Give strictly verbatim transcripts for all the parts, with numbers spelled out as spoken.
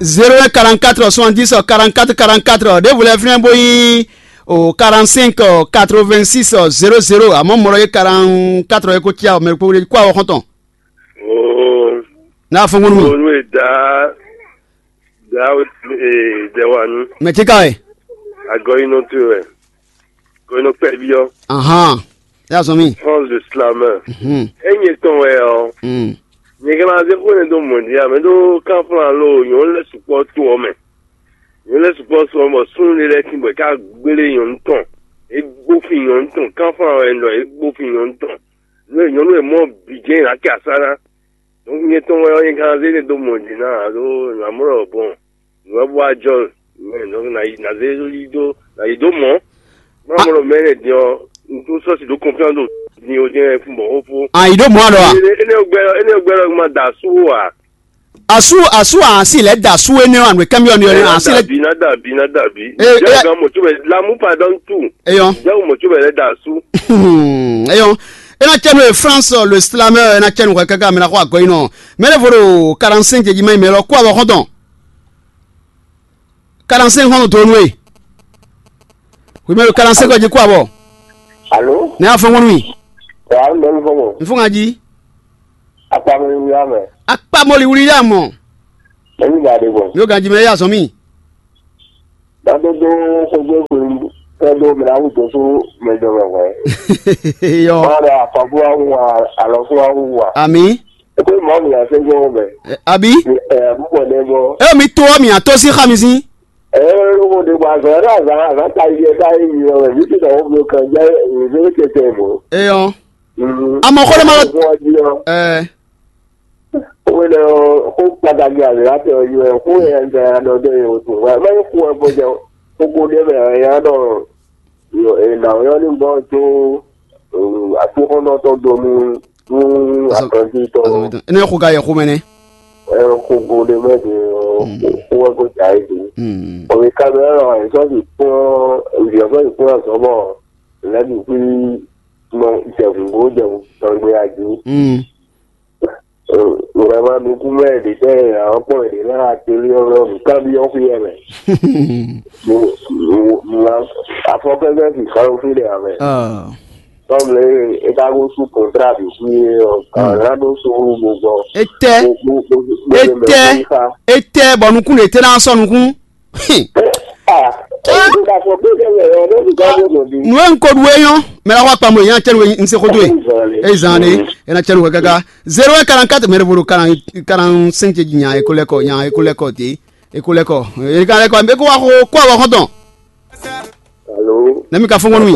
Zéro un quarante-quatre soixante-dix quarante-quatre quarante-quatre, ɖěvo lɛ́ɛ fínɛ́ bó nyí o quarante-cinq quatre-vingt-six zéro zéro, àmọ́ mɔ̌ ɖɔ é quarante-quatre é ko cí mɛ kó kó awɔ xɔ́ntɔn. Oh, N'a fɔ́n gbɔn nú mì. Onu e da da e dɛ wa nu. Mɛ tí ka wɛ? Agɔ yi nɔ to wɛ. Ko nɔ kpɛ bi ɔ. Ahan. Ya zɔn mi. France de slameur. Mhm. Enye tɔn wɛ ɔ. Mm. Nye kana ze ko ne do mɔ dia me do kan flan lo yon le sukpɔ to ɔ me. Yon le sukpɔ to ɔ mɔ sun le lɛ kin bɔ ka gbele yon tɔn. E gbo fi yon tɔn kan flan wɛ ndɔ e gbo fi yon tɔn. Nú e nyɔnu e mɔ bǐ jɛ́n ná kɛ asá ná. Donc nyɛ tɔn wɛ ɔ́, nyɛ ka ná zé ne dó mɔ din ná alo nǎ mlɔ́ bɔn nǔ wɛ bó wá jɔ mɛ, donc ná yi ná zé yi dó ná yi dó mɔ. Má mlɔ́ mɛ ne din ɔ́, n tó sɔ́si dó confiance ɖo din o jɛ́n fún bɔ xó fó. A yi ɖó mɔ̌ alɔ a? Énɛ́ gbɛ énɛ́ gbɛ lɔ ma da asú o a? Asú asú a si lɛ da asú énɛ́ ɔ, anú kɛmí ɔ ni ɔ a si lɛ. Ná dàbí ná dàbí ná dàbí. Ee, jẹ́ ee, ìgbà mọ̀ tó bẹ̀ lámú padà ń tù. Eyɔn. Jẹ́ ìgbà mọ̀ tó bẹ̀ lẹ́ da asú. Eyɔn. E na cɛ nú e France le slamɛ e na cɛ nú hwɛ kaka mɛ na xɔ agɔ yi nɔ. Mɛ ɖe vo ɖo quarante-cinq jí mɛ yi mɛ lɔ kó abɔ xɔntɔn. Quarante-cinq xɔntɔn to nú e. Wi mɛ ɖo quarante-cinq jí kó abɔ. Alo? Ne afɔ ŋɔnu mi. Wa mɛ mi fɔ mɔ. N fɔ ŋa jí. Akpa mɛ mi ya mɛ. Akpa mɔli wuli ya mɔ. Mɛ mi ba de bɔ. Mi o ganji mɛ ya zɔn mi. Dado do xogbe xwenu kɛ do mɛ awu do so mɛ jɔ mɛ hwɛ. Yɔ. Ma ɖe afɔku awu wa alɔfu awu wa. Ami. Eko mɔ mi ase gbɔ mɛ. Abi. Ɛ bubɔ ne bɔ. E mi to mi ato si xa mi si. Ɛ lóko de bɔ azɔ yɛ azan azan ta yi ta yi mi wɛ mi ti dɔ wo kan jɛ mi zɛ tete mo. Eyɔ. Amɔ xɔ ɖe ma. Ɛ. Xó énɛ́ ɔ́, xó kpataki azɔ̌yatɔ́ ɔ́ yi wɛ, xó e un ka ná ɖɔ dó nyɛ wútu wɛ. Má nyí xó wɛ bó jɛ xóxó ɖé mɛ ɔ́, é ná ɖɔ è nǎ ylɔ́ ní gbɔn có aklúnɔ́tɔn dó nú nú akɔntíntɔ́. Énɛ́ xó ka yɛ xó mɛ nɛ́. Xóxó ɖé mɛ din ɔ́, xó wɛ kó jà é din. Ɔ̀mì ka mɛ ɔ́, è sɔ́ sixú kplɔ́n, è sɔ́ sixú kplɔ́n azɔ̌ bɔ lɛ̌ bǐ xwí nɔ jɛ hǔn bó jɛ hǔn tɔn gbé a jí. Vraiment, nukúnmɛ ɖě tɛ́ ǎ kpɔ́n è ɖě ná atelier ɔ́ mɛ nǔkanbyɔ́ xwíyɛ mɛ. Afɔkɛ́gbɛ́ fi xalófí ɖe ǎ mɛ. Tɔ́mlɛ e é ka gosú kɔntrá bǐ xwí é ɔ́, ǎ ná ɖó sóru bo gbɔ. Etɛ etɛ etɛ bɔ nukún ɖě tɛ́ ná sɔ́ nukún. Nú e un ko ɖu é nyɔ́, mɛ la wá kpamɔ yɛn cɛ́nu e un se xó dó e. Eye zan ɖe, e na cɛ́nu hwɛ káká. Zéro un quarante-quatre mɛ ɖěvo ɖo quarante-cinq ce jí nya e ko lɛ́ kɔ, nya e ko lɛ́ kɔ dě, e ko lɛ́ kɔ, e ka lɛ́ kɔ, e ko wá xó kó awɔ xɔ́ntɔn. Alo. Nɛ́ mi ka fɔ́n gbɔn nú mi?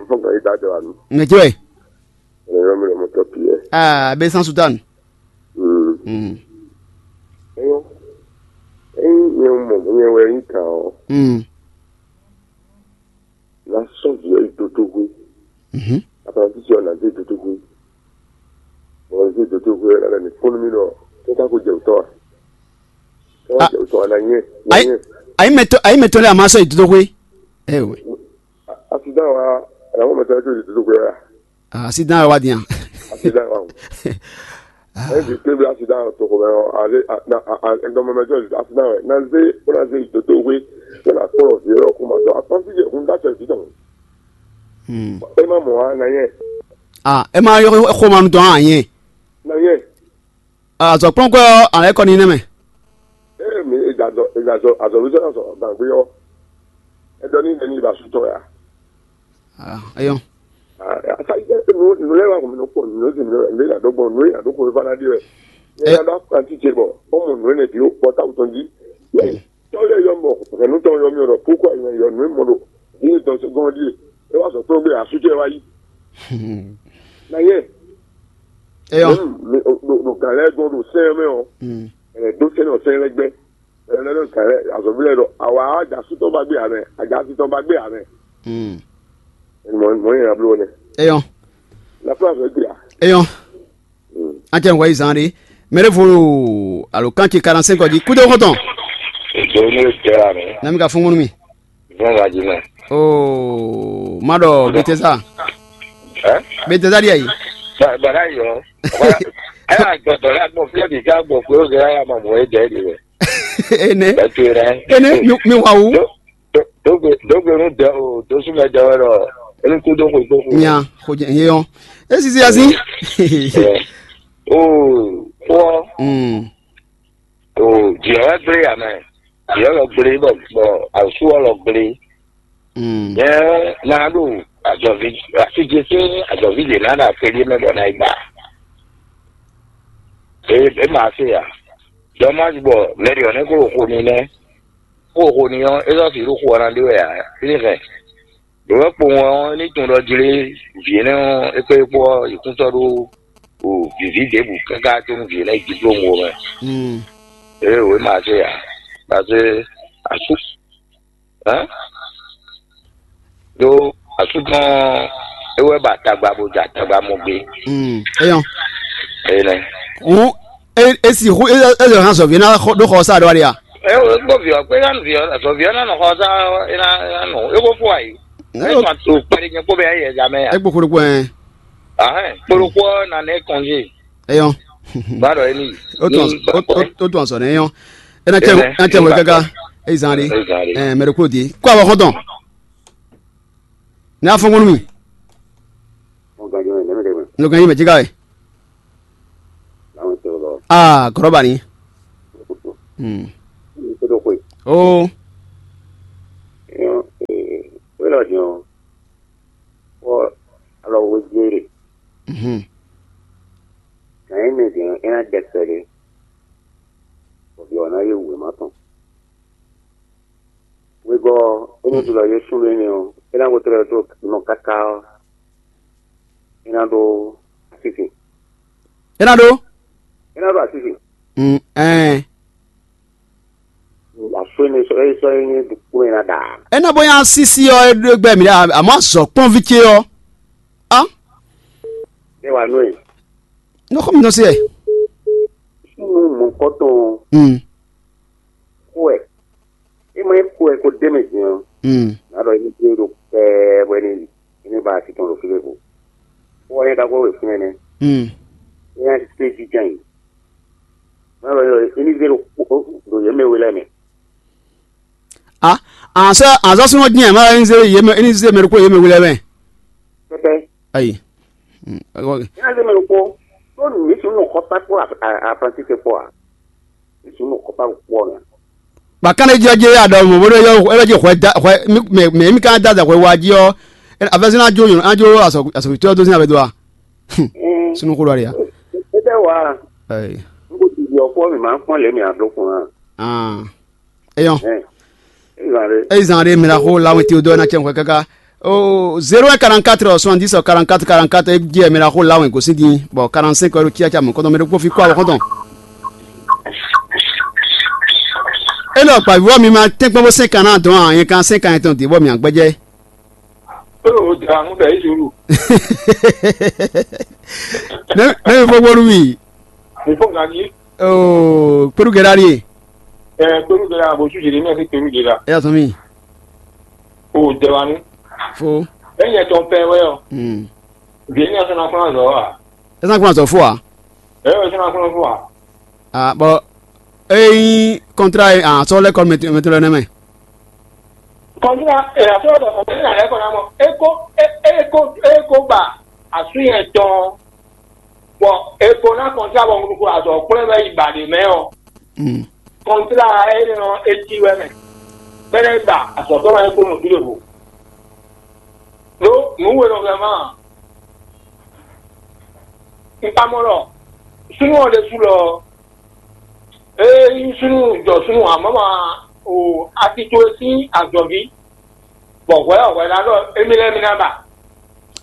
Fɔ́n gbɔn yí dá jɔ wa nú. Nɛ jɔ ɛ. Ɛnɛ yɔ mi lɔ mɔtɔ Pierre. Aa, bɛ san sutan. Mm. Mm. Eyo. Eyi nyɛ mɔ nyɛ wɛ yi kan o. Mm. Na sɔn vi yi dodo gbe. Mhm. Apana ti sɔ na de dodo gbe. Ɔ de dodo gbe la ni fɔnu mi lɔ. Kɛ ka ko jɛ utɔ a? Kɛ ka jɛ utɔ a na nyɛ. Ayi, ayi mɛ to, ayi mɛ to lɛ a ma sɔ yi dodo gbe. Ewe. Accident wa, ana mo mɛ to yi dodo gbe a? Ah, accident wa diyan. Accident wa. Ɛdi kébí accident tɔgɔ mɛ ɔ, ale na ɛdɔmɔ mɛ jɔ accident wɛ. Na ze, o na ze dodo we, o na kpɔlɔ vi yɔrɔ kuma dɔ. Akpɔnti yɛ kun da tɛ vi dɔn. Hmm. E ma mɔ wa na yɛ. Ah, e ma yɔ xoma nu dɔn a yɛ. Na yɛ. Ah, azɔ kplɔnkɔ a lɛ kɔ ni nɛ mɛ. Ee mi egazɔ egazɔ azɔluzɔ azɔ gbàgbé ɔ. Edɔ ní nɛ ní ba sutɔ ya. Ah, eyɔn. Asa yi nu nu lɛ wa kun mi nɔ kpɔ nu si nu lɛ la dɔ gbɔn nu la dɔ kɔ fa na di wɛ. Ɛ ya dɔ akpa ti ce bɔ ɔmɔ nu lɛ bi o kpɔ ta wutɔ di. Tɔ lɛ yɔ mɔ hɛnu tɔ yɔ mi rɔ kókó ayi yɔ nu mɔ do. Ni tɔ se gɔn di. E wa sɔ kpɔ gbe asu ce wa yi. Na yɛ. Eyɔn. Ɖo gan lɛ gbɔn ɖo sɛn mɛ ɔ. Ɛ do sɛn ɔ sɛn lɛ gbɛ. Ɛnɛ lɔ kɛlɛ azɔvi lɛ ɖɔ awa aja sutɔ ba gbé amɛ aja sutɔ ba gbé amɛ. Mɔ mɔ yẹn ablo nɛ. Eyɔn. Lafiya fɛ gbé a. Eyɔn. An cɛ ŋgɔ yi zan de mɛ ɖe fo alo kan ce quarante-cinq ɔdi kudo kɔtɔn. Èdè ní ètè àmì. Nami ka fún mi. Bẹ́ẹ̀ la jìnnà. Ooo ma ɖɔ bete sa. Ẹ́. Bete sa di ayi. Bàdá yọ. Ẹ yà gbọdọ yà gbọ fúlẹ bìí ká gbọ pé ó gẹ yà máa mọ ẹ jẹ ẹ nìyẹn. Ene. Bɛtu rɛ. Ene, mi, mi wa wu. Dogbe dogbe nu dɛ o, dosu mɛ dɛ wɛ lɔ. Enu kudo xwe kpo xwe. Nya, xo jɛ ye yɔn. Esi si asi. O, kpɔ. Mm. O, jɛ wɛ gblé ya mɛ. Jɛ wɛ gblé bɔ bɔ asu wɛ lɔ gblé. Mm. Yɛ na ɖo azɔvi asijɛ sín azɔvi ɖe na ɖo akpɛɖi mɛ bɔ na yi gba. E e ma se ya. Dɔmaj bɔ mɛri ɔ́ nɛ́ kó xo ni nɛ́. Kó xo ni ɔ́, é zɔ́ sixú xo ɔ́ ná ɖe wɛ ǎ. Fínɛ́ hɛn. Ɖǒ wɛ kpowun ɔ́, é ní tunwun ɖɔ jlé vǐ énɛ́ ɔ́, é kpé kpó ɔ́, yi kún sɔ́ ɖó o vǐví ɖěbǔ káká có nú vǐ énɛ́ yi diplómu ɔ́ mɛ. Mm. Ée wě ma se ǎ. Parce que asú hɛn ɖó asú tɔn é wɛ ba tagba bó ja tagba mɔ gbé. Mm. Eyɔn. Eye nɛ. Hǔn e e sixú e e zɔ hàn zɔ̌ví ná xɔ- ɖó xɔ sá ɖó wá ɖe a? Ɛ o gbɔ viɔ kpé ná viɔ azɔ viɔ ná nɔ xɔ sá ena ena nɔ ebo fo ayi. Ɛ o kpari nyɛ kpó bɛ yɛ zame ya. Egbo koɖo kpɛ. Ahɛn kpolo kpɔ na ne kɔnje. Eyɔn. Ba dɔ eni. O tún o o o tún azɔ ne eyɔn. Ena cɛ ena cɛ wɛ gaga. Eyi zan de. Ɛ mɛ ɖo kúrò di kó awɔ xɔntɔn. Ne afɔnkɔnɔ mi. Lɔgán yé mɛ jika wɛ. Aa gɔrɔba ni. Hmm. Oo. Wela din ɔ, kpɔ alɔ wo jere. Mhm. Gǎn e mɛ din ɔ, é ná dɛ kpɛɖé, bɔ vǐ ɔ́ ná yí wěma tɔn. Wegɔ́ ɔ́, é nɔ ɖu lɔ yé súnnu énɛ́ ɔ́, é ná ko tlɛ ɖó nɔ káká ɔ́, é ná ɖó asísi. É ná ɖó? É ná ɖó asísi. Mm, ɛn. Asú énɛ́ sɔ́ é sɔ́ é nyí kúmɛ ná ɖa. É ná bó nyá sísí ɔ́, é ɖó gbɛ mǐ ɖe, àmọ́ azɔ̌ kpɔ́nví ce ɔ́. Á? É wà nú ɛ. Nɔ xɔ mi nɔ se ɛ. Súnnu mɔ̌kɔtɔn Mm. Xo ɛ. É ma nyí xo ɛ ko d'é mɛ din ɔ́, Mm. Nǎ ɖɔ émí ɖó ɖo pɛɛ bɔ é ní yi. É ní ba asi tɔn ɖo fí ɖěvo. Xo ɔ́ nyɛ ka xó ɖo fínɛ́ nɛ́. Mm. É ná zé jínjɔ́n ayǐ. Nǎ ɖɔ émí zé ɖo xo- ɖo yě mɛ we lɛ́ɛ mɛ. A azɔ̌ azɔ̌ súnnu dín ɛ má ní zé yě mɛ ní zé mɛ ɖokpó yě mɛ we lɛ́ɛ mɛ. Pɛpɛ. Ayi. Mm, ɔ- Ní a zé mɛ ɖokpó. Tó nǔ ní sunu nɔ xɔ pa kpó Afransíse kpó a? Ní sunu nɔ xɔ pa kpó ɔ́ mɛ. Ba kán ɖé jɛ jɛ ya ɖɔ mɔ bó ɖó yɔ ɛ bɛ jɛ xwɛ da xwɛ mɛ mɛ mi kán da da xwɛ wa jí ɔ. Afɛsɛ ná jó yɔn ná jó asɔ asɔ tó tó sín abɛ do a. Sunu kó lɔ de a. É bɛ wá. Ayi. N kò tìbí ọkọ mi máa ń pọ́n lèmi àdókùn náà. Ah. Eyɔn. Ɛ ɛ zan ɖe. Eyi zan ɖe mira xó lawin ti o dɔ na cɛ xɔ kaka. O zéro un quarante-quatre soixante-dix quarante-quatre quarante-quatre e jɛ mira xó lawin gosín din bɔ quarante-cinq euro cia ca mɔ kɔntɔn mɛ ɖokpó fi kó awɔ kɔntɔn. E lɔ gba vivɔ mi ma tɛnkpɔn bó sɛn kan na dɔn a yɛn kan sɛn kan yɛn tɔn di bɔ mi agbɛjɛ. Ó, ó jra nú bɛ̌ yí zulu. Ne ne mi fɔ gbɔnu mi. Mi fɔ ŋa nyi. Oo kpeɖu gɛɖa ɖie. Ɛ kpeɖu gɛɖa bó sú jeli mɛ sí kpeɖu gɛɖa. E y'a sɔn mi. O jra nu. Fo. E nyɛ tɔn pɛ wɛ ɔ. Hmm. Vě ní ɛsɛ na fún azɔ wa. E sàn kún azɔ fo wa. Ɛ ɛsɛ na fún fún wa. Ah bɔn eyi kɔntra yi ah sɔ lɛ kɔ mɛtɛlɛ nɛ mɛ. Kɔntra ɛ asɔ dɔ kɔntra lɛ kɔ na mɔ eko eko eko ba asu yɛ tɔn bɔ eko na kɔntra bɔ ŋuɖu ko azɔ kplɛ bɛ yi ba de mɛ ɔ. Kɔntra ɛ nɔ eti wɛ mɛ bɛ na yi ba azɔ tɔ ma eko nɔ bi de vo. Lo nu wo nɔ vɛ ma. N ka mɔ lɔ sunu ɔ ɖe su lɔ. Ee, súnnu jɔ súnnu amɔ̌ ma o atito e sín azɔ̌ví, bɔ hwɛ ɔ́ hwɛ ná ɖɔ émí lɛ́ɛ mí ná ba.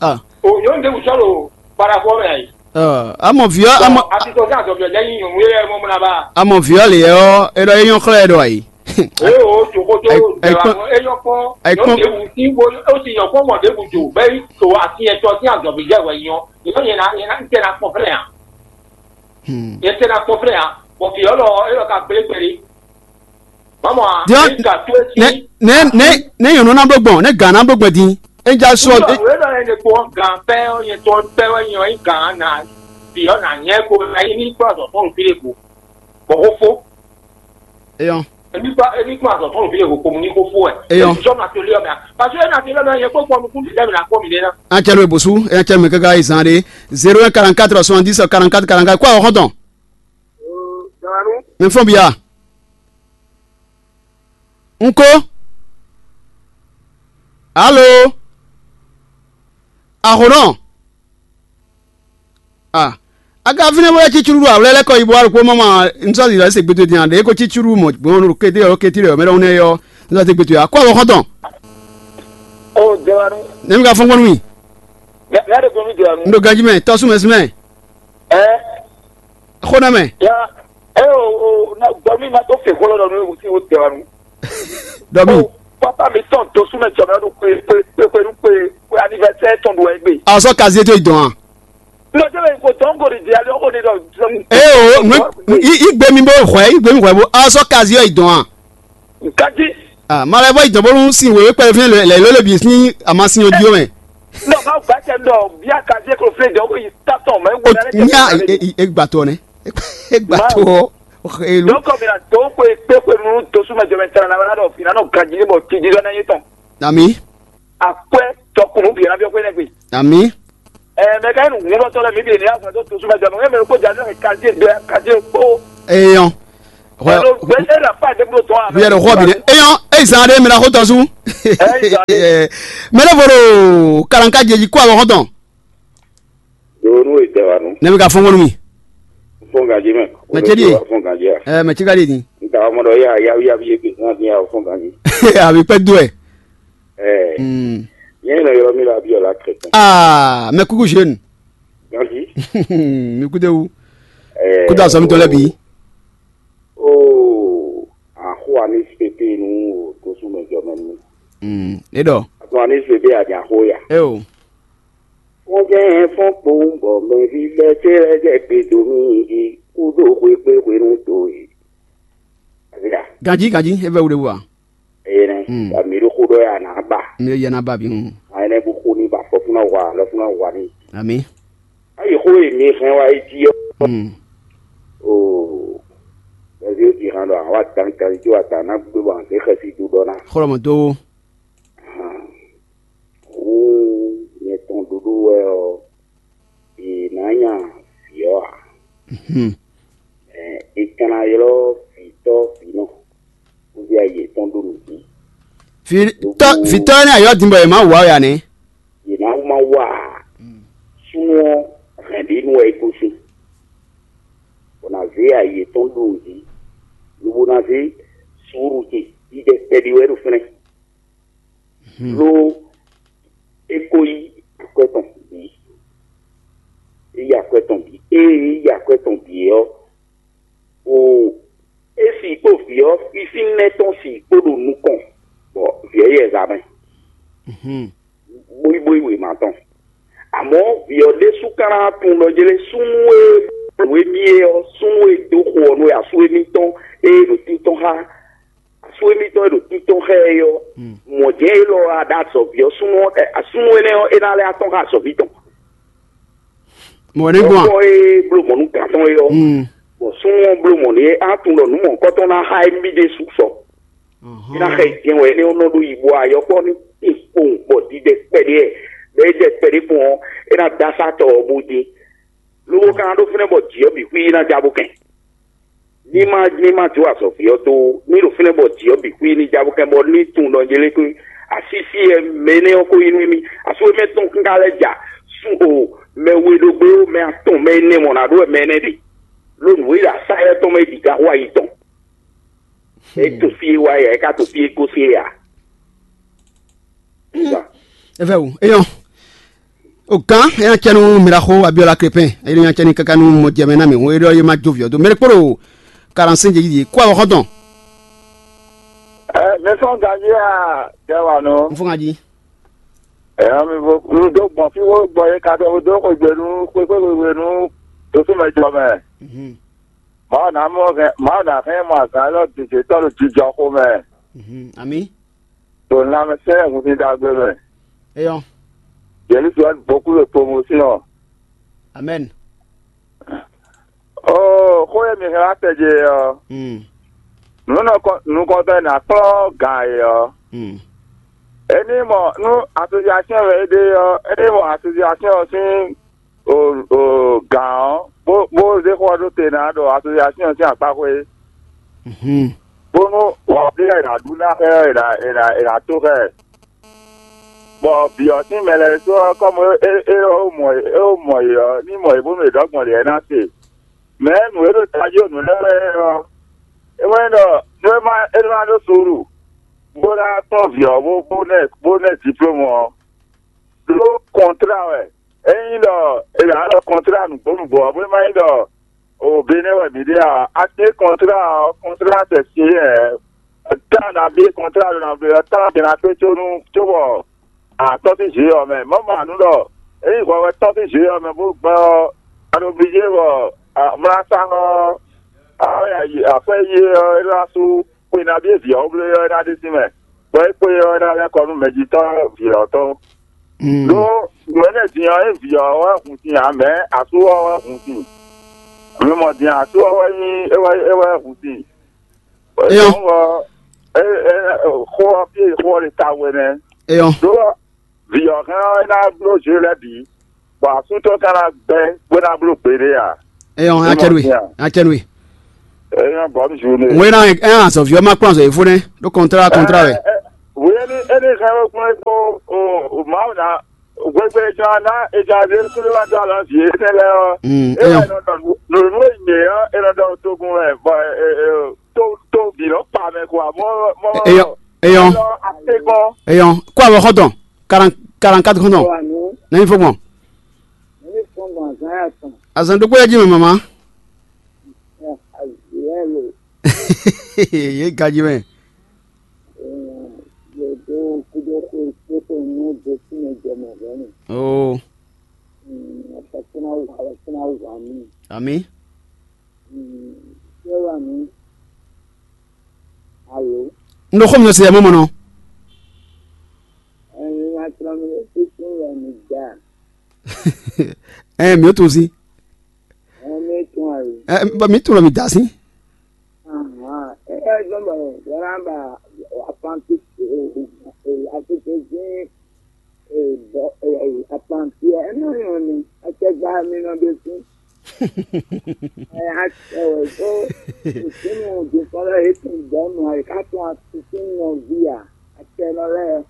Ah. O nyɔ̌nu ɖěbǔ sɔ́ ɖo parafɔ mɛ ayǐ. Ah, amɔ vǐ ɔ́, amɔ Atito sín azɔ̌ví ɔ́ jẹ́ nyí nyɔ̌nu e lɛ́ɛ mɔ mú ná ba. Amɔ vǐ ɔ́ lě ɔ́, é ɖɔ é nyɔ́ xlɛ́ ɛ ɖo ayǐ. Ee o, jòkótó Ayi- ayi- jɛwà é nyɔ́ kpɔ́n, ayi- nyɔ̌nu ɖěbǔ sín bó ó sì nyɔ̌ kpɔ́n mɔ ɖěbǔ jò bɛ́ yi to atin ɛtɔ sín azɔ̌ví jɛ wɛ nyɔ́. Nyɔ̌nu yẹn ná yẹn ná tẹ ná kpɔn fɛ́nɛ ǎ. Hmm. Yɛ tɛ na kpɔn flɛ ya, bɔ fi ɔlɔ ɔlɔ ka gblé kpɛɖé. Mamɔ a, Diɔ- ne ka to esi. Ne ne ne ne yɔn nɔ na bló gbɔn, ne gan na bló gbɔn din. E ja sɔ. Wúlò wúlò yɛ ne kpɔn gan pɛ ɔ yɛ tɔ pɛ wɛ nyɔ yi gan na fi ɔ na nyɛ ko na yi ní kpɔ azɔ fɔlù fi de ko. Bɔ ko fo. Eyɔn. Èmi kpá èmi kpá azɔ̌ tɔn lòbí lè kó kpomú ní kó fó wɛ. Eyɔn. Èmi sɔ́ nɔ atelier mɛ. Parce que ena atelier mɛ yɛ kpó kpɔnu kún dìde mi la kpɔ mi ɖe ná. An cɛ lo e bosú, e an cɛ mɛ káká yi zan ɖé. Zéro un quarante-quatre soixante-dix quarante-quatre quarante-quatre. Kó awɔ xɔntɔn. Mɛ fɔn bia. N ko. Alo. Axɔnɔ. Ah. A ka fínɛ́ bó lɛ́ cí cúɖúɖú awlɛ́ lɛ́ kɔ yi bó wá ɖokpó má ma un sɔ́ zǐlɔ se gbédó din a ɖě ko cí cúɖúɖú mɔ gbɔn ɖo kété ɔ́ kété ɔ́ mɛ ɖɔhun nɛ́ ɔ́ un sɔ́ se gbédó a kó awɔ xɔ́ntɔn. Ó jɛ wá nú. Nɛ́ mi ka fɔ́n gbɔn nú mì? Mɛ mɛ ɖe gbɔn mí jɛ wá nú. Un ɖo ganjí mɛ tɔ́sú mɛ sí mɛ. Ɛ Xó nɛ́ mɛ. Ya ɛ o o na gbɔ mí ma tó fè xó lɔ nú sí o jɛ wá nú. Dɔ mì. Ó pápá mi tɔn tó súnmɛ jɔ mɛ ɖo kpe kpe kpe kpe nú kpe kpe anivɛsɛ tɔn ɖo wɛ gbe. A sɔ́ kazié tó yi dɔn a? Nɔ jẹ́ bẹ́ẹ̀ kò tọ́ ń gòrì jẹ́ alẹ́ ọkọ̀ ní lọ. Ee o, igbe mi bó hwɛ, igbe mi hwɛ bó, a sɔ́ kazié ɔ́ yi dɔn a? Kají. Ah, ma lɛ bɔ yi dɔn bónú sin wěwé kpɛɖé fínɛ́ lɛ ló lè bǐ sín amasin ɔ́ jí ó mɛ. Nɔ ma gba tɛ nɔ bia kají kò fún ìjọ kò yi tatɔ mɛ wò O lɛ nya e gba to nɛ. E gba to ɔ. Elu. Donc mi na to ko e kpe ko nu to suma jɔ mɛ tana na wala dɔ fina nɔ kají bɔ tiji dɔ na yi tɔn. Ami. Akwɛ tɔkunu bi na bi ko ne gbe. Ami. Ɛɛ mɛ ka nu ŋun dɔ tɔ lɛ mi bi ne ya fɔ to suma jɔ mɛ mɛ ko ja ne kají do kají ko. Eyɔn. Ɛɛ lo gbɛ ne la pa de blo tɔn a. Bi yɛrɛ xɔ bi de. Eyɔn, eyi zan de mi na xɔ tɔn su. Mɛ ne fɔ do kalanka jɛji kó awɔ xɔtɔn. Donu e tɛ wa nu. Ne bɛ ka fɔn kɔnɔ mi. Fɔn gaji mɛ. Mɛ cɛ di ye. Fɔn gaji a. Ɛɛ mɛ cɛ ka di ni. N ta mɔ dɔ ya ya ya bi ye bi hàn ni ya fɔn gaji. A bi pɛ do ɛ. Ɛɛ. Mm. Yɛn nɔ yɔrɔ mi la bi ɔla kɛtɛ. Aa mɛ kuku jeune. Gaji. Mi kude wu. Ɛɛ. Kuda sɔmi tɔ lɛ bi. Oo. Axo ani sete nu o to su mɛ jɔ mɛ nu. Mm. E dɔ. Axo ani sete a di axo ya. E o. Wọ́n jẹ́ ẹ̀fọn kpowó bọ̀ mẹ́fí lẹ́sẹ̀ lẹ́sẹ̀ pé domi yìí kúdó hwepé hwenu tó yìí. Àbíyá. Ganji ganji e bɛ wuli wa. Ẹyẹ nẹ. Hmm. Àmì ló kó dọ́ yà nà bà. Mi yɛ na ba bi hun. Àyìn nẹ bó kó ní bà fọ́ fúnná wà lọ fúnná wà ní. Ami. Ayi xó yìí mi hɛn wá yí jí ọ́. Hmm. Oo. Bɛ̀sí ó ti hàn dɔ àwọn àtàǹkàlì tó àtàǹnà gbé wọn àti xɛsi dúdɔ ná. Xɔlɔmɔ tó. Hǔn nyɛ tɔn ɖuɖu wɛ ɔ́, è nǎ nya vǐ ɔ́ ǎ. Ɛ, è ka ná ylɔ́ vǐtɔ́ vǐnɔ, bó vɛ́ ayi yětɔn ɖó nǔ jí. Vǐtɔ́ vǐtɔ́ énɛ́ ayɔ́ din bɔ è má wǎ wɛ ǎ nɛ́. È nǎ má wá ǎ. Súnnu ɔ́, hɛ̌n ɖě nu wɛ é gosín, bɔ nǎ zé ayi yětɔn ɖó nǔ jí, lobo ná zé suúlu ce jijɛ kpɛɖé wɛ ɖo fínɛ́. Lo é ko yí akwɛ́ tɔn bǐ. É yí akwɛ́ tɔn bǐ. Ée é yí akwɛ́ tɔn bǐ é ɔ́, o é si kpó vǐ ɔ́ fífínɛ́ tɔn si kpó ɖo nukɔn, bɔ vǐ ɔ́ yɛ zǎ mɛ. Bóyíbóyí wěma tɔn. Àmọ́ vǐ ɔ́ ɖésú ka ná tunwun ɖɔ jlé súnnu e blǒ émí é ɔ́, súnnu e dó xo ɔ́ nú asú émítɔn e ɖo títɔn xá asú émítɔn e ɖo títɔn xá ɛ é ɔ́, mɔ̌ jɛ́n élɔ́ wá ɖó azɔ̌ví ɔ́ súnnu ɔ́, ɛ, súnnu énɛ́ ɔ́, é ná lɛ́ atɔ́n xá azɔ̌ví tɔn. Mɔ̌ nɛ́ gbɔn a? Ɔ́ e bló mɔ̌ nú gǎn tɔn é ɔ́, bɔ súnnu ɔ́ bló mɔ̌ n'i é á tunwun ɖɔ nǔ mɔ̌hunkɔtɔn ná xá émí ɖésú sɔ. É ná xá yi jɛ́n wɛ énɛ́ ɔ́ nɔ ɖó yi bɔ ayɔkpɔ́ ní kpowun kpowun bɔ didɛ kpɛɖé ɛ, bɔ é jɛ kpɛɖé kpɔn ɔ́, é ná dó asá tɔ ɔ́ bó dín. Lobo ka ná ɖó fínɛ́ bɔ jǐ ɔ́ bǐ xwí ná ja bó kɛn. Ní má ní má jó azɔ̌ví ɔ́ dó ó, ní ɖo fínɛ́ bɔ jǐ ɔ́ bǐ xwí ní ja bó kɛn bɔ ní tunwun ɖɔ nyɛ lɛ́ kpé asísí ɛ mɛ énɛ́ ɔ́ ko nyí nú émí. Asú émí tɔn kún ka lɛ́ ja sú o mɛ we ɖo gbé ó, mɛ atɔn mɛ énɛ́ mɔ nǎ ɖó wɛ mɛ énɛ́ ɖe. Ló nǔ e ɖo asá ɛ tɔn mɛ é bǐ ka xo ayi tɔn. É to fí e wá ya, é ka to fí e gosín é ǎ. Efe o eyɔn. O gán e nya cɛ nu miraxo Abiola Krepin, e nya cɛ ni kaka nu mɔ jɛmɛ na mi hu e ɖɔ ye ma jo viɔ do mɛ kpolo karansin jɛ yi kó awɔ xɔtɔn. Ɛ mɛ sɔn ganji a jɛ wa nɔ. N fún ka jí. Ɛ mi bo n do gbɔn fi wo gbɔ ye ka dɔ do ko gbenu ko ko gbenu to so mɛ jɔ mɛ. Mhm. Ma na mɔ hɛn ma na hɛn ma zan lɔ dije tɔ lo jijɔ ko mɛ. Mhm. Ami. To na mɛ sɛ hun si dagbe mɛ. Eyɔn. Jesu an beaucoup de promotion. Amen. Oh, ko ye mi hɛn atɛ je ɔ. Hmm. Nǔ nɔ kɔn nukɔntɔn e nǎ kplɔ́n gǎn e ɔ́, é ní mɔ nú asosiasɛ́n wɛ é ɖe ɔ́, é ní mɔ asosiasɛ́n ɔ́ sín o o gǎn ɔ́, bó bó zé xó ɔ́ ɖó te ná ɖo asosiasɛ́n ɔ́ sín akpáxwé, bónú wɔ̌xɔ́ e è nǎ ɖu ná xɛ ɔ́, è nǎ è nǎ è nǎ tó xɛ. Bɔ vǐ ɔ́ sín mɛ lɛ́ɛ ɖésú ɔ́, kɔ́mu é é é ó mɔ é ó mɔ yě ɔ́, ní mɔ yě bónú yě ɖɔ gbɔn lě ná se. Mɛ̌ nǔ e ɖo tají ɖo nǔ lɛ́ɛ wɛ ɔ́, é wɛ nyí ɖɔ nú é ma é ma ɖó suúlu, bó ná kplɔ́n vǐ ɔ́ bó bó ná ɛ bó ná ɛ diplómu ɔ́, ɖó kɔntrá wɛ. Ényí ɖɔ è nǎ ɖɔ kɔntrá nǔgbó nǔgbó ɔ́, bó ma nyí ɖɔ o Benɛ́ wɛ mǐ ɖe ǎ. A kpé kɔntrá ɔ́, kɔntrá tɛ sin é ɛ. Tán nabí kɔntrá ɖo nabí ɔ́, tán din ná kpé có nú cóbɔ a tɔ́n sín zě ɔ́ mɛ. Mɔ̌ ma nǔ ɖɔ ényí hwɛ wɛ tɔ́n sín zě ɔ́ mɛ bó gbɛ́ ɔ́, a ɖo blíjé bɔ mlá sá ɔ́, akwɛ́ yi ɔ́, é ná sú xwe nabí e vǐ ɔ́ bló é ɔ́, é ná ɖe sín mɛ, bɔ é kpé ɔ́, é ná lɛ́ kɔ nú mɛjitɔ́ vǐ ɔ́ tɔn. Ɖó nǔ énɛ́ din ɔ́, é vǐ ɔ́ wɛ hun sin ǎ, mɛ̌ asú ɔ́ wɛ hun sin. Mi mɔ din asú ɔ́ wɛ nyí é wɛ é wɛ hun sin. Éyɔ́. Dɔ̌n ɔ́, é é xó ɔ́ fí e xó ɔ́ ɖe ta wɛ nɛ́. Éyɔ́. Ɖó vǐ ɔ́ hɛn ɔ́, é ná bló zě lɛ́ɛ bǐ, bɔ asú tɔn ka ná gbɛ́ bó ná bló gbeɖé ǎ. Éyɔ́, é ná cɛ nú we. É ná cɛ nú we. É ná bɔ̌ mì zú nú. Wé ná é ná azɔ̌ví ɔ́ má kplɔ́n azɔ̌ e fó nɛ́ ɖó kɔntrá kɔntrá wɛ. Wě ní é ní hɛn wé kplɔ́n é kpó o Mawu ná gbégbé é ján ná é ján zé kúlú wá dó alɔ vǐ énɛ́ lɛ́ɛ ɔ́. Mm, É wɛ éyɔ́. Nɔ ɖɔ nǔ nǔ e nyě ɔ́, é nɔ ɖɔ togun wɛ bɔ tó tó bǐ nɔ kpa mɛ kó amɔ mɔ Éyɔ́, éyɔ́. Atégɔn. Éyɔ́. Kó avɔ xɔ́ntɔn. Quarante quarante-quatre xɔ́ntɔn. Wà ní Nɛ́ fó gbɔn. Ní fún gbọ̀n zán yà tán. Azɔn ɖokpó yɛ jí mɛ mama. Azǐ ẹ̀ lò. Yé gají mɛ. Yòdó kúdó kó kó ní ó dó sí mɛ jẹ mɛ hɛn. Oo. Afɔkúná wà afɔkúná wà mí. Ami. Ṣé wà ní? Alo. N ɖo xó mi nɔ se yɛ mɔ mɔ nɔ. Ẹ̀yin máa tọ́ mi lé títí rẹ̀ mi dá. Ẹ mi ó tún sí. Ẹ mi tún àyè. Ẹ bá mi tún lọ mi dá sí. Àmọ́ ẹ ẹ gbọ́dọ̀ yọ̀rọ̀ bá àpáǹtí àtúntò sí àpáǹtí ẹ náà yàn ni akẹgbà mi náà dé sí. Ẹ á ẹ wẹ̀ tó ìpinnu òdìkọ́lẹ̀ yìí tún gbọ́nù àyíká tún àtúntò yàn via àtẹnulẹ́.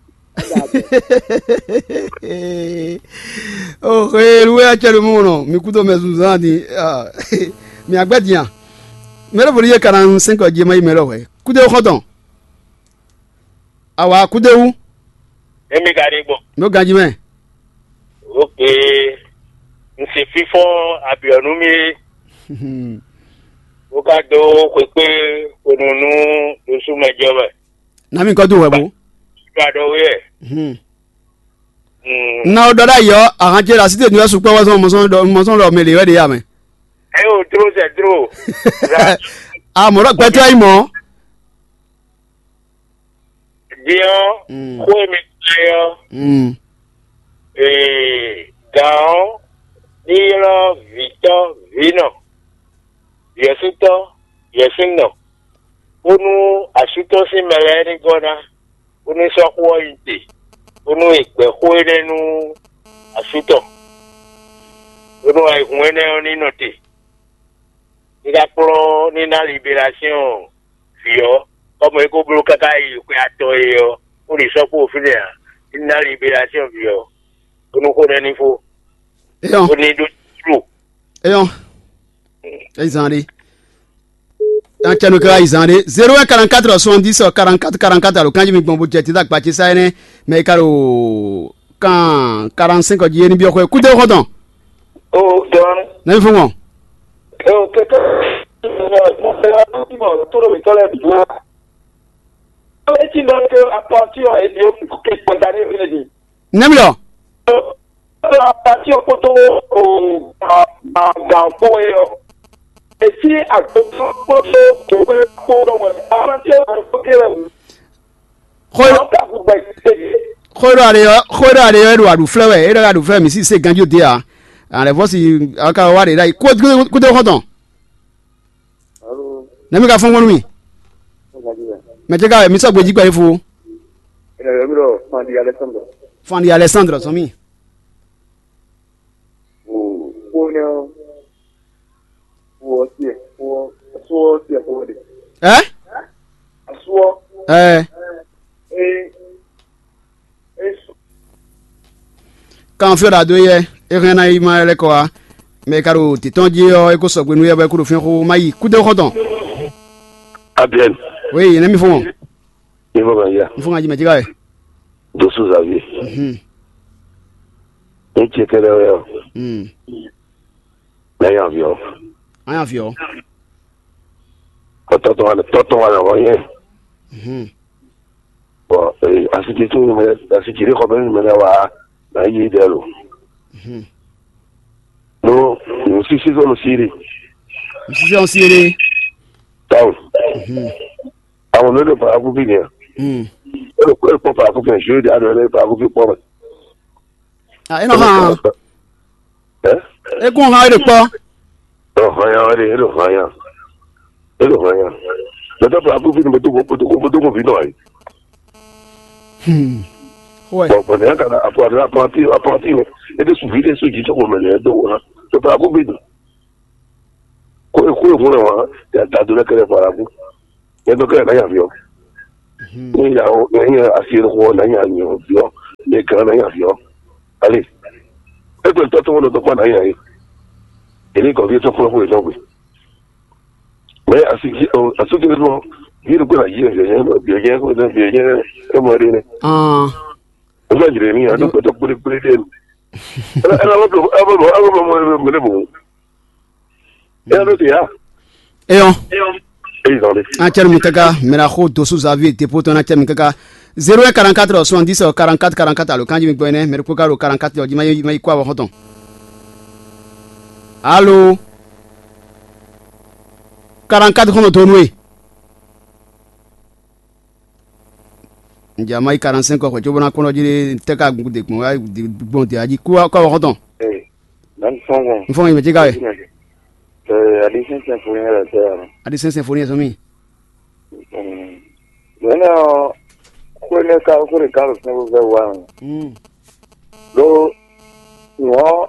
Oxe, lu wɛ acɛ ɖo mɔ nɔ mi kúdo mɛ zunzan ni. Mi agbɛ diyan. Mɛ ɖo boli ye kana sɛn kɔ je ma yi mɛ lɔ hwɛ. Kude xɔtɔn. Awa kude wu. Emi ka ɖe gbɔn. No ganji mɛ. Ok. N se fifɔ abiɔnu mi. Wo ka do xwekpe onunu ɖosú mɛ jɔ mɛ. Na mi kɔ do wɛ bo. Ɖo aɖɔ wɛ. Hmm. Hmm. Na o dɔ ɖ'ayǐ ɔ́, ahan ce ɖo así te nú wɛ sukpɔ́ wɛ zɔn mɔ sɔn ɖɔ mɔ sɔn ɖɔ mɛ lě wɛ ɖe ya mɛ. Ɛ o dro zɛ dro. A mɔ ɖɔ gbɛtɔ́ yi mɔ. Din ɔ́, Mm. Xó e mi ka ɔ́, Mm. ee, gǎn ɔ́ ní ylɔ́ vǐtɔ́ vǐnɔ, yɛ̌sútɔ́ yɛ̌súnɔ, bónú asú tɔn sín mɛ lɛ́ɛ ní gɔ́ ná, bónú sɔ́ xó ɔ́ nyi te, bónú è gbɛ̌ xó énɛ́ nú asú tɔn, bónú ayǐhun énɛ́ ɔ́ ní nɔ te. Ní ká kplɔ́n ní ná liberasíɔn vǐ ɔ́, kɔ́mɔ é kó bló káká yi xwe atɔn e ɔ́, bó ɖi sɔ́ kpó fínɛ́ ǎ. Ní ná liberasíɔn vǐ ɔ́, bónú xó nɛ́ ní fó, Eyɔn, bó ní ɖó tlú. Eyɔn. Eyi zan ɖe. Yan cɛ no kɛ yi zan ɖe. Zéro un quarante-quatre soixante-dix quarante-quatre quarante-quatre alo kanji mi gbɔn bo jɛ tita gba ce sa énɛ́ mɛ yi ka ɖo kan quarante-cinq jí é ní byɔ́ xwɛ. Kúdé xɔtɔn. O dɔn. Nɛ mi fún wọn. O kɛkɛ mo fẹ́ wá bí mo tó lómi tọ́lẹ̀ bí wá. Ó lè ti lọ pé apá tí ọ̀ èdè ó kí kí kọjá ní ìpínlẹ̀ yìí. Nɛ mi lɔ. Ó lọ apá tí ó kó tó o gbà gbà kó e ɔ. Èsì àgbẹ̀tọ́ kó tó kó e kó lọ́wọ́ apá tí ó kó kéré wù. Xóyó Àwọn kàkú gbà ìdílé yìí. Xóyó are yɔ xóyó are yɔ e ɖo aɖu flɛ wɛ e ɖɔ aɖu flɛ mi si se ganjo de a. Alɛ vɔ si aka wa de ɖa yi kó kó xɔtɔn. Alo. Nɛ mi ka fɔn gbɔn nú mi. Mɛ ce ka wɛ mi sɔgbe jí kpɛ fo? Ena yɔ mi ɖɔ Fandi Alexandre. Fandi Alexandre sɔn mi. O ko ne o o si o so si o de. Ɛ? Aso. Ɛ. E e so. Kan fí ɔ́ ɖo adó yɛ, é hɛn ná yi ma lɛ́ kɔ wá. Mɛ e ka ɖo títɔn jí ɔ́, é ko sɔgbe nú yɛ bɔ é kú ɖo fínxó má yi kúdé xɔ́ntɔn. Abiɛn. Oui, yě nɛ́ mi fɔ́n. Ní fɔ kan yá. N fɔ́n kan jí mɛ jí ká wɛ. Dosu Xavier. Mhm. Ní tse kɛlɛ wɛ ɔ. Mm. N'a nya viɔ. Anya viɔ. Ɔ tɔtɔ wa tɔtɔ wa na wɔ yɛ. Mhm. Bɔn asiki tún mɛ asiki ɖé xɔ bɛ mɛ na wa na yi ɖɛ lo. Mhm. No, no sisi sɔ no siri. Sisi sɔ siri. Tawu. Mhm. Àwọn mélòó pa akúkú yẹn? Mm. Ẹ lọ pọ pa akúkú yẹn, ṣé ìdí àná ẹ pa akúkú pọ mẹ? Ah, e nɔ hàn. Ẹ? E kún hàn e ɖe kpɔ. Ẹ lọ hàn yà wẹ, ẹ lọ hàn yà. Ẹ lọ hàn yà. Lọ́tọ̀ pa akúkú ni mo tó kó mo tó kó mo tó kó fi nọ ayi. Hmm. Ouais. Bɔn bɔn ní a kana apɔ apɔnti apɔnti wɛ. E de suvi de su jí sɔkò mɛ lɛ do wa. Tó pa akúkú ni. Kó kó e hun wá ya da do lɛ kɛlɛ fara kú. Yɛ dɔ kɛlɛ na nya viɔ. Ní ya o ní ya asi yɛ kó na nya nya viɔ. Ní kan na nya viɔ. Ale. E gbɛ tɔ tɔgɔ dɔ kpa na nya yi. Èmi kɔ vi tɔ kplɔ kó etɔ gbe. Mɛ asi asi ke dɔ. Yɛ kó na yi yɛ yɛ yɛ yɛ kó na yɛ yɛ. E mɔ de ne. Ah. O ma jire ni a do kpɛtɔ kpele kpele de. E na bɔ e na bɔ e na bɔ mɛ ne bo. E na do te ya. Eyɔn. Eyi zan de. An cɛ mi kaka mɛ na xo dosu Xavier te poto na cɛ mi kaka. Zéro un quarante-quatre soixante-dix quarante-quatre quarante-quatre alo kanji mi gbɔ nɛ mɛ ko ka do quarante-quatre ɔ ji ma yi ma yi kó awɔ xɔtɔn. Alo. Quarante-quatre xɔnɔ to nue. N jɛ a ma yi quarante-cinq xwɛ cóbó ná kpɔ́n jí tɛ́ ka gun de gbɔn wá gbɔn de ají kó kó awɔ xɔtɔn. Ee, dan sɔngɔn. N fɔ mi mɛ tí ka wɛ. Ee, adi sɛnsɛn fo yɛn lɛ tɛ yan. Adi sɛnsɛn fo yɛn sɔmi. Mɛ nɛ ɔ, ko ne ka ko ne ka lo fɛn ko fɛ wa. Hmm. Lo, nɔ,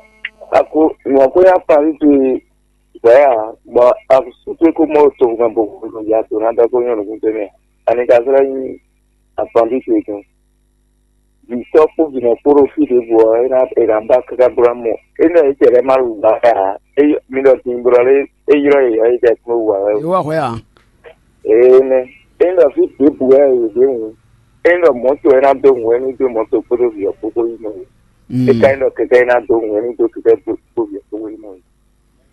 ako nɔ ko ya pa ni tu. Bɔ ya, bɔ a súkpé kó mɔ togun bo ya to ná dɔ́ kó nyɔ́ nukún tɛnmɛ. Ani ka zlɛ́ nyí afɔndí ce tɔn. Vǐ sɔ́ kpó vǐnɔ kpó ɖo fí ɖěbǔ ɔ́, é ná è nǎ ba káká bló ná mɔ. É nɔ é cɛ lɛ́ má ɖu ba ká ǎ. É mi ɖɔ din blɔ lé é ylɔ́ yě ɔ́, é jɛ kpó wú ǎ wɛ. Yě wá hwɛ ǎ. Énɛ́. É nɔ fí ɖěbǔ wɛ è ɖě hǔn. É nɔ mɔ̌to wɛ ná dó hǔn wɛ ní dó mɔ̌to kpódó vǐ ɔ́ kpó kó yi mɔ. É ka nyí ɖɔ kɛkɛ é ná dó hǔn wɛ ní dó kɛkɛ kpó vǐ ɔ́ kpó yi mɔ.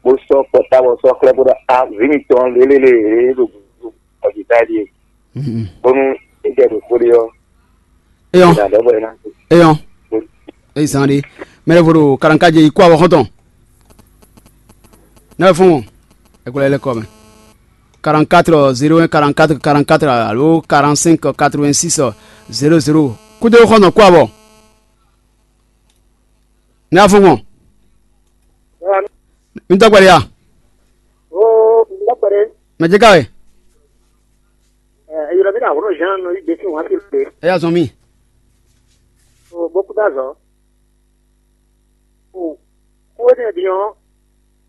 Bó sɔ́ kpɔta bɔ sɔ́ xlɛ́ bó ɖɔ a vǐ mitɔn lélélé e ɖo ɔjita ɖíe. Bónú é jɛ ɖo xó ɖé ɔ́, Eyɔn, nǎ ɖɔ bɔ é ná. Eyɔn. Eyi zan ɖe. Mɛ ɖěvo ɖo kalankájɛ yi kó awɔ xɔ́ntɔn. Nɛ́ fún wọn. Ɛ kó lɛ lɛ́ kɔ mɛ. Quarante-quatre zéro un quarante-quatre quarante-quatre alo quarante-cinq quatre-vingt-six zéro zéro. Kúdó xɔ́ntɔn kó awɔ. Nɛ́ fún wọn. Mi dɔgba ya. Oo, n dɔgba ɖe. Mɛ jɛ ka wɛ. Ɛ, eyɔrɔ mi na wolo Jean nɔ yi gbesi wọn fi pe. Eya zɔn mi. O boku da zɔ. O ko ne diɔ.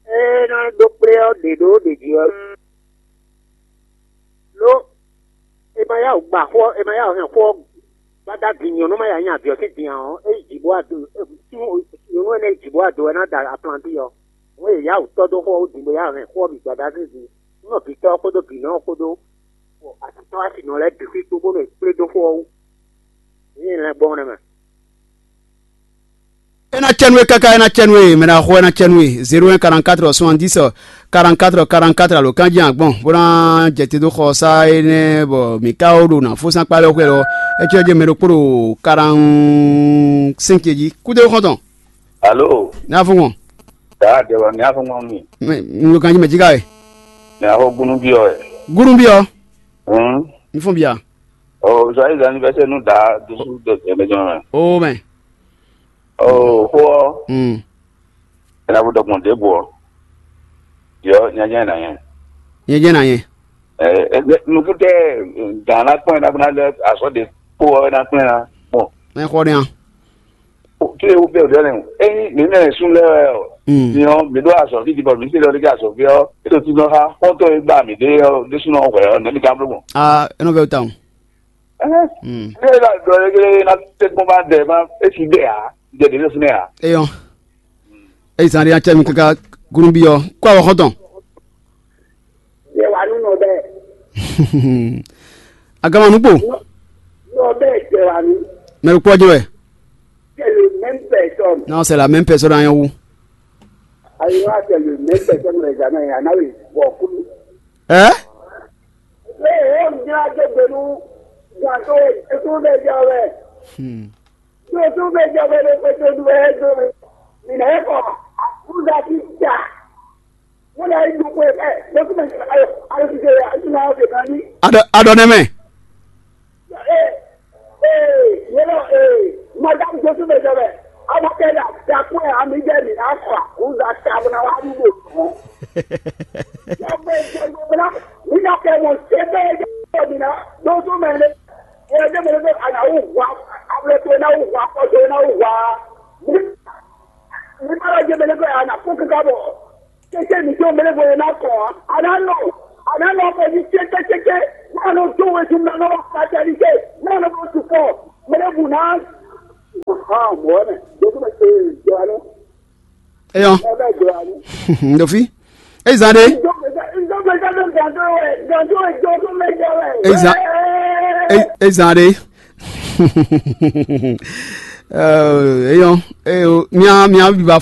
E na do kple ɔ de do de ji ɔ. Lo e ma ya wǔ gba xó ɔ́, e ma ya wǔ hɛn xó ɔ́ gbada din nyɔ̌nu ma ya nyi avǐ ɔ́ sín din ǎ ɔ́, é yi jǐ bó wá do. Nyɔ̌nu énɛ́ yi jǐ bó wá do wɛ ná da aplanti ɔ́. Hǔn e yǎ wǔ tɔ́ dó xó ɔ́ wú din bó ya hɛn xó ɔ́ bǐ gbada sín din. Nú nɔ bǐ tɔ́ ɔ́ kpódó bǐ nɔ ɔ́ kpódó, bɔ atitɔ́ wá si nɔ lɛ́ɛ bǐ xwí kpó bónú è kplé dó xó ɔ́ wú. Yě nyí lɛngbɔ́n nɛ́ mɛ. É ná cɛ nú we káká, é ná cɛ nú we, mɛ ná xo é ná cɛ nú we. Zéro un quarante-quatre soixante-dix quarante-quatre quarante-quatre alo kanjí agbɔn bó ná jɛ te dó xɔ sá énɛ́ bɔ mǐ ka ó ɖo nǎ fó sín akpá lɛ́ɛ xwɛ lɔ. É cɔ́ jɛ mɛ ɖokpó ɖo quarante-cinq jí. Kúdé xɔ́ntɔn. Alo. Ní afɔ́ngbɔn. Taa dɛwɔ ní afɔ́ngbɔn mi. Mɛ lo kanjí mɛ jí ká wɛ. Ní afɔ gúnú bí ɔ wɛ. Gúnú bí ɔ. Hum. Ní fún bia. Ɔ zɔ ayé zan anniversaire nú daa dúdú dɔ tɛmɛ jɔ mɛ. O mɛ. Ɔ xó ɔ. Hmm. Ena bu dɔgbɔn ɖěbǔ ɔ. Yɔ nyanya na nyɛ. Nyanya na nyɛ. Nukúntɛ́ gǎn ná kpɔ́n ɛ ná kpɔ́n ná lɛ́ azɔ̌ ɖě kpó ɔ́ é ná kplɛ́n ná. Mɔ Mɛ xɔ ɖe a? Kí lè wú bẹ́ẹ̀ òdìọ́ lẹ́nu. Ényí mǐ mɛ sún lɛ́ wɛ ɔ, nyɔ mǐ ɖó azɔ̌ fí dibɔ mǐ se lɔ ɖé azɔ̌ fí ɔ́, é ɖo tínú xá xɔ́ntɔn e gbá mǐ ɖe ɔ́ ɖésúnɔ hwɛ ɔ́, nɛ̌ mǐ ka bló gbɔn? Ah, é nɔ vɛ wú tawun. Hmm. Ée ɖɔ ɖɔ légélé ná tɛ́gbɔn bá dɛ má é si dɛ ǎ, dɛ ɖě ɖo fínɛ́ ǎ. Eyɔn. Eyi zan ɖé acɛ mi kaka gúnúbí ɔ́, kó awɔ xɔ́ntɔn. Yɛ wà nú nɔ bɛɛ. Agama nukpo. Nɔ bɛɛ jɛ wà nú. Mɛ ɖo kpɔ́ jɛ wɛ. C'est le même personne. Non, c'est la même personne à Yawou. Ayiwa, c'est le même personne les années. Anna oui, bon, kulu. Hein? Ee, o nyla do gbe nú gǎn tó e tó bɛ jɛ wɛ. Hmm. Tó tó bɛ jɛ wɛ lé pé tó du ɛ do. Mǐ nà é kɔ akúza tí ja. Mo nà é dúkú ɛ bɛɛ ló tún bɛ jɛ ayɔ ayɔ ti jɛ ayɔ ti nà ɔ́ fè kan ní. Adɔ adɔ nɛ mɛ. Ee, ee, yɛlɛ ee, madame Josu bɛ jɛ bɛ. Ama kɛ da dakun ɛ ami jɛ mi na kɔ akúza ta bó na wá dúgbò tɔn. Yàgbé jẹ gbogbo la, mi na kɛ mɔ se bɛ jẹ mi na Josu mɛ ne. Ɛ jẹ mɛ ne bɛ ana wò wá, abúlé tó na wò wá, kɔjɔ na wò wá. Mi ma lọ jẹ mɛ ne bɛ ana kó kíkà bɔ. Kéké mi tó mɛ ne bɔ yẹn na kɔ, ana nɔ, ana nɔ kɔ ní tsékétséké, náà ló tó wɛ tún náà lọ́wọ́ kájá ní ké, náà ló tó tún kọ́, mɛ ne bù náà. Hàn mọ́ ẹ̀, Josu mɛ se jọ anú, Eyɔn. Ɛ bɛ jọ anú. Ndofi. Eyi zan ɖe. Ìjọba ìjọba ìjọba ìjọba ìjọba ìjọba ìjọba ìjọba Eyi zan. Eyi eyi zan ɖe. Eyɔn. Eyo. Mia mia biba